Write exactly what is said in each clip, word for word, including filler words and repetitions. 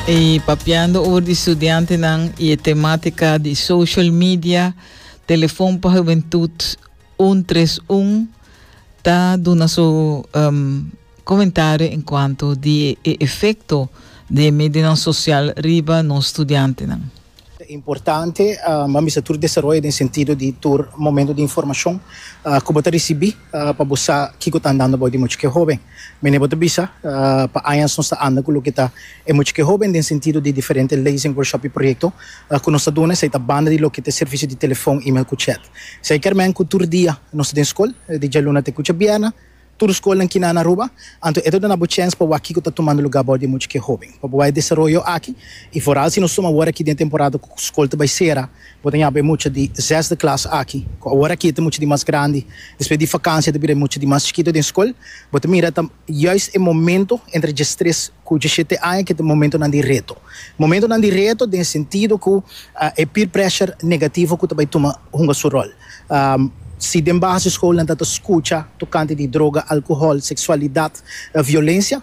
I papiando over di studiantenan i temátika di social media, Telefon pa Hubentut un tres un ta duna su um, komentario en kuanto di e efekto di media sosial riba nos studiantenan. Importante, uh, ma mi tur desaroyo den sentido di tur momento di informashon uh, ku bo ta risibí uh, pa bo sa kiko ta andando bou di mucha ku hóben. Mene bo ta bisa uh, pa aña nos ta anda ku loke ta e mucha ku hóben den sentido di diferente lezing, workshop i proyekto uh, ku nos ta duna, esei ta banda di loke ta servisio di telefòn, e-mail ku chat. Esei ke men ku tur dia nos ta den skol, di djaluna te ku djabièrnè, tur skol aki na Aruba, anto e ta duna bo chance pa wak kiko ta tumando lugá bou di mucha ku hóben. Pa bo desaroyo aki i vooral si nos tuma awor aki den temporada ku skol ta bai sera, bo tin mucha di zesde klas aki, awor aki tin mucha di mas grandi, despues di vakantie ta bira mucha di mas chikitu den skol, bo ta mira ta juist e momento entre diestres ku diesshete aña ku ta momentonan di reto. Momentonan di reto den sentido ku uh, e peer pressure negativo ku ta bai tuma hunga su ròl. Um, si den basisschool nan ta skucha tokante di droga, alkohòl, seksualidat, uh, violensia,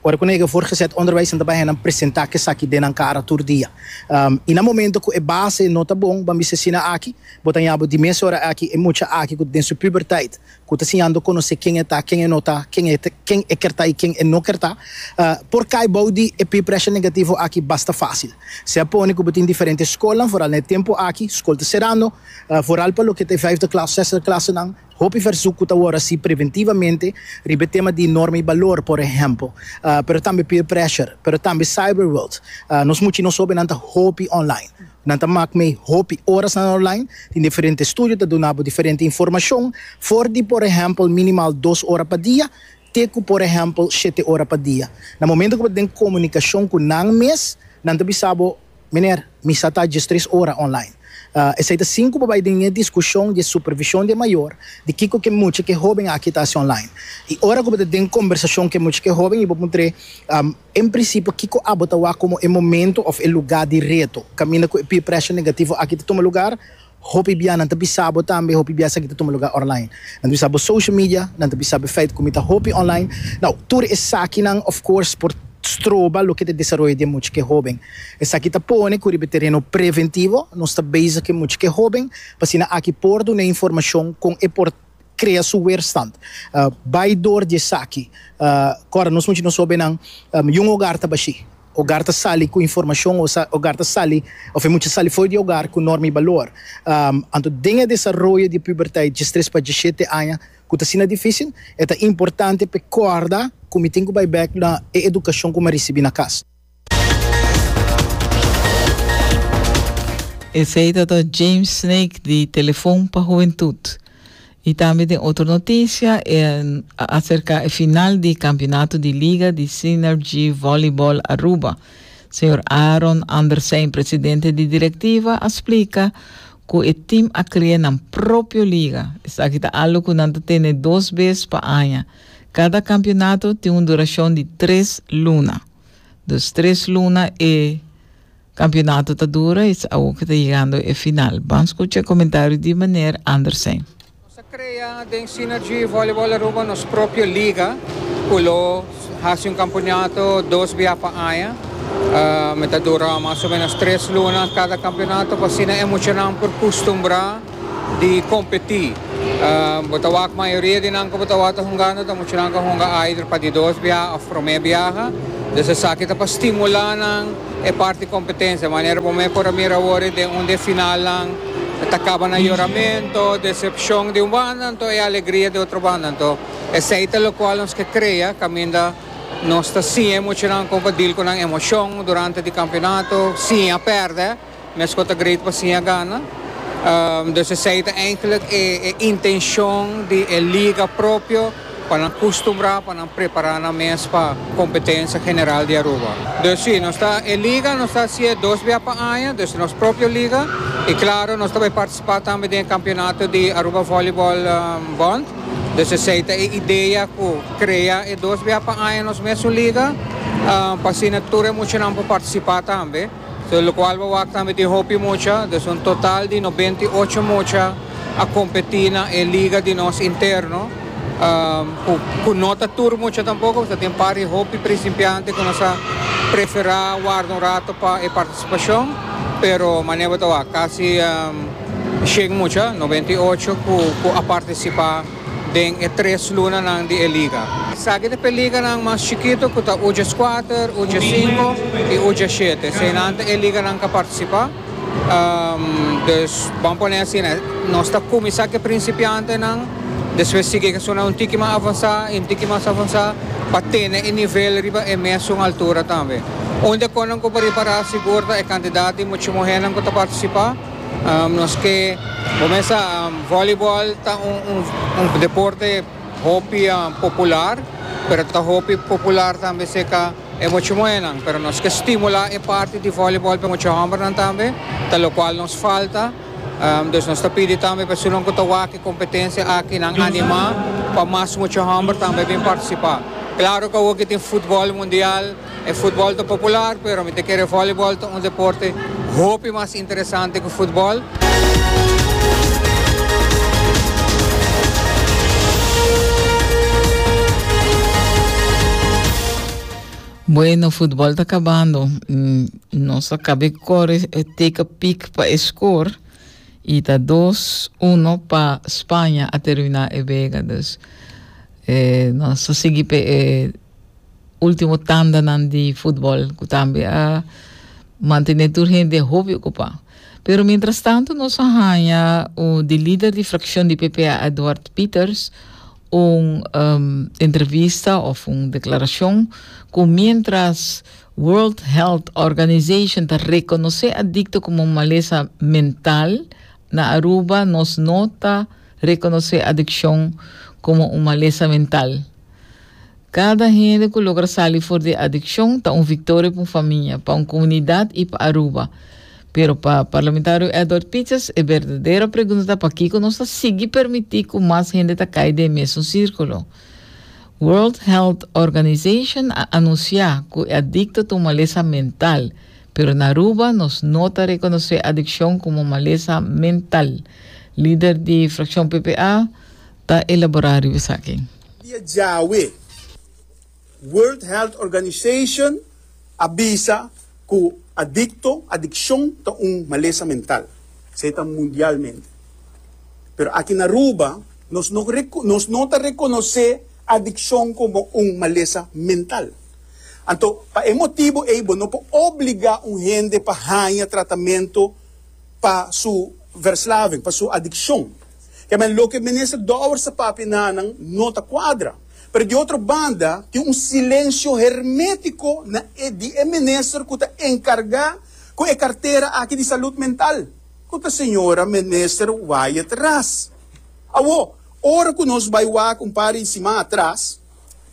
ora ku nan voortgezet onderwijs nan ta bai presentá ku esaki den nan kara tur dia. Um, i na momento ku e base no ta bon, ban bisa asina aki, bo ta di mes ora aki e mucha aki ku den su puberteit, ku ta siñando konosé ken e ta, ken e no ta, ken e ken e ke ta i ken e no ke ta, uh, por kai bou di e peer pressure negativo aki basta fásil. Se pone ku tin diferente skol, vooral na tempu aki, skol ta serando, uh, vooral pa loke ta vijfde klas, zesde klas nan, hopi verzoek ku awor asina preventivamente riba tema di norma i balor, por ehèmpel, uh, pero tambe peer pressure, pero tambe cyberworld. Uh, nos mucha nos hóbennan ta hopi online. Nan ta mak mee hopi horas na online, tin diferente estudio ta duna diferente informashon, for di, por ehèmpel, minimal dos ora pa dia, te ku, por ehèmpel, shete ora pa dia. Na momento ku tin komunikashon ku nan mes, nan ta bisa bo, "Meneer, mi sa ta tres ora online." Uh, esei ta sinku pa bai den diskushon di supervishon di mayor, di kiko ku mucha ku hóben aki ta online. I ora ku tin kombersashon ku mucha ku hóben i bo puntr'é, um, en prinsipio, kiko abo ta wak komo e momento òf e lugá di reto, kaminda ku peer pressure negativo aki ta tuma lugá, hopi bia nan ta bisa bo tambe, hopi bia esaki ta tuma lugá online. Nan ta bisa bo social media, nan ta bisa bo feit ku mi ta hopi online. Nou, tur esakinan, of course, por stroba loke ta desaroyo di mucha ku hóben. Esaki ta pone ku riba tereno preventivo, nos ta bezig ku mucha ku hóben, pa asina aki por duna informashon kon e por krea su weerstand. Uh, bai dor di esaki. Uh, Kòrda, nos mucha nos hóbennan, um, un hogar ta bashí. Hogar ta sali ku informashon, hogar ta sali, òf mucha sali for di hogar ku norma i balor. Um, anto, den desaroyo di puberteit, diestres pa diesshete aña, ku ta asina difísil, ta importante pa kòrda ku mi tin ku bai bèk na edukashon ku mi a risibí na kas. Esei ta James Snake di Telefon pa Hubentut. I tambe tin otro notisia, e, aserka e final di kampeonato di Liga di Synergy Volleyball Aruba. Señor Aaron Andersen, presidente di direktiva, a splika ku e tim a krea nan propio liga. Esaki ta algu ku nan ta tene dos bes pa aña. Kada kampeonato tin un durashon di tres luna. Dus tres luna e kampeonato ta dura i awor ta yegando e final. Ban skucha e komentario di meneer Andersen. Nos a krea den Synergy Volleyball Aruba nos propio liga, ku lo hasi un kampeonato dos bia pa aña. Uh, ta dura mas o ménos tres luna kada kampeonato, pa asina e muchanan por kustumbrá di kompetí. Uh, bo ta wak mayoria di nan ku bo ta wak hungando, ta muchanan ku a hunga either pa di dos bia òf promé biaha. Dus esaki ta pa stimulá nan e parti kompetensia. Manera bo mes por a mira awor den un di finalnan ta kaba na yoramentu, desepshon di un banda, anto e alegria di otro banda. Anto, esei ta loke nos ke krea, kaminda nos ta siña muchanan kon pa deal ku nan emoshon durante e kampeonato, siña pèrdè, meskos ta great pa siña gana. Um, dus esei ta eigenlijk e, e intenshon di e liga propio pa nan kustumbrá, pa nan prepará nan mes pa kompetensia general di Aruba. Dus si, nos ta e liga, nos ta hasié dos bia pa aña, dus nos propio liga, i klaro, nos tambe ta partisipá tambe den kampeonato di Aruba Volleyball um, Bond. Dus esei ta e idea ku krea e dos bia pa aña nos mes liga, um, pa asina tur muchanan por partisipá tambe. So, lokual bo a wak tambe tin hopi mucha, dus un total di nobenta i ocho mucha a kompetí na e liga di nos interno. Um, cu no ta tur mucha tampoco, tin par di hopi principiante cu nos a prefera warda un rato pa e participacion, pero manera ta casi um, shen mucha, nobenta y ocho cu, cu a participa den e tres lunanan di liga. Esaki ta e liganan mas chikito cu ta U diescuater, U diescinco y U diesshete. Eseynan ta e liganan cu a participa. Um, dus, ban pone asina, nos ta cuminsa cu principiantenan, despues sigui cu un tiki mas avansa, un tiki mas avansa, pa tene e nivel riba e mesun altura tambe. Unda cu nan por prepara sigur e cantidad di mucha muher cu ta participa. Um, nos kier cuminsa um, voleibol ta un, un, un deporte hopi um, popular, pero ta hopi popular tambe serca e mucha muher, pero nos kier stimula e parti di voleibol pa mucha homber tambe, ta locual nos falta. Um, dus nos ta pidi tambe pa esunnan cu ta wak e competencia aki nan anima pa mas mucha homber tambe bin participa. Claro cu aki tin futbol mundial, e futbol ta popular, pero mi ta kere voleibol ta un deporte hopi mas interesante cu futbol. Bueno, futbol ta cabando. Mm, Nos a caba di core take a peek pa score y ta dos uno pa Spaña a termina e wega. Dus eh, nos ta sigui eh, ultimo tandanan di futbol cu tambe a mantene tur hende hopi ocupa. Pero mientras tanto nos a haya o di lider di fraccion di P P A, Edward Pieters, un um, entrevista of un declaracion cu mientras World Health Organization ta reconoce adicto como un malesa mental, na Aruba nos no ta reconoce adiccion como un malesa mental. Cada hende cu logra sali for di adiccion ta un victoria pa un famia, pa un comunidad y pa Aruba. Pero pa parlamentario Edward Pieters, e berdadero pregunta ta pakico nos ta sigui permiti cu mas hende ta cay den mesun circulo. World Health Organization a anuncia cu adicto ta un malesa mental, pero na Aruba nos no ta reconoce adiccion como malesa mental. Lider di fraccion P P A ta elabora esaki. Dia djawe, World Health Organization a bisa cu adicto, adiccion ta un malesa mental. Esey ta mundialmente. Pero aki na Aruba, nos no, nos no ta reconoce adiccion como un malesa mental. Anto, pa e motibo ey, no por obliga un hende pa haya tratamento pa su verslaving, pa su adiccion. Kiermen, loke minister Dowers a papia nan no ta cuadra. Pero di otro banda, tin un silencio hermetico na di e minister cu ta encarga cu e cartera aki di salud mental. Cu ta señora minister Wyatt Ras. Awo, ora cu nos bay wak un par di siman atras,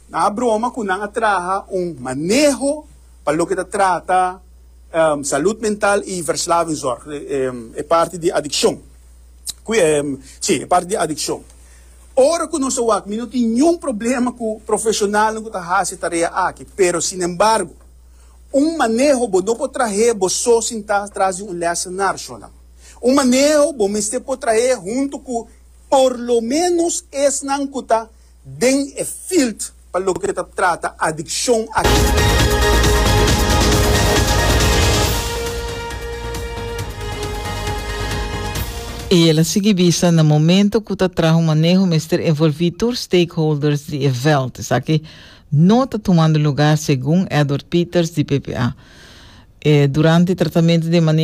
nan a broma cu nan a traha un maneho pa loke ta trata um, salud mental y verslavingszorg, um, e parti di adiccion. Um, si, e parti di adiccion. Ora cu nos wak, mi no tin ningun problema cu profesional cu ta haci e tarea aki, pero sin embargo, un maneho bo no por traha bo so sinta tras di un lessenaar, shona. Un maneho bo mester por traha hunto cu por lo menos esnan cu ta den e field pa loke ta trata adiccion aki. Y el a sigui bisa na momento cu ta traha un maneho mester envolvi tur stakeholders di e veld. Esaki no ta tumando luga segun Edward Pieters di P P A. Eh, durante tratamento di maneho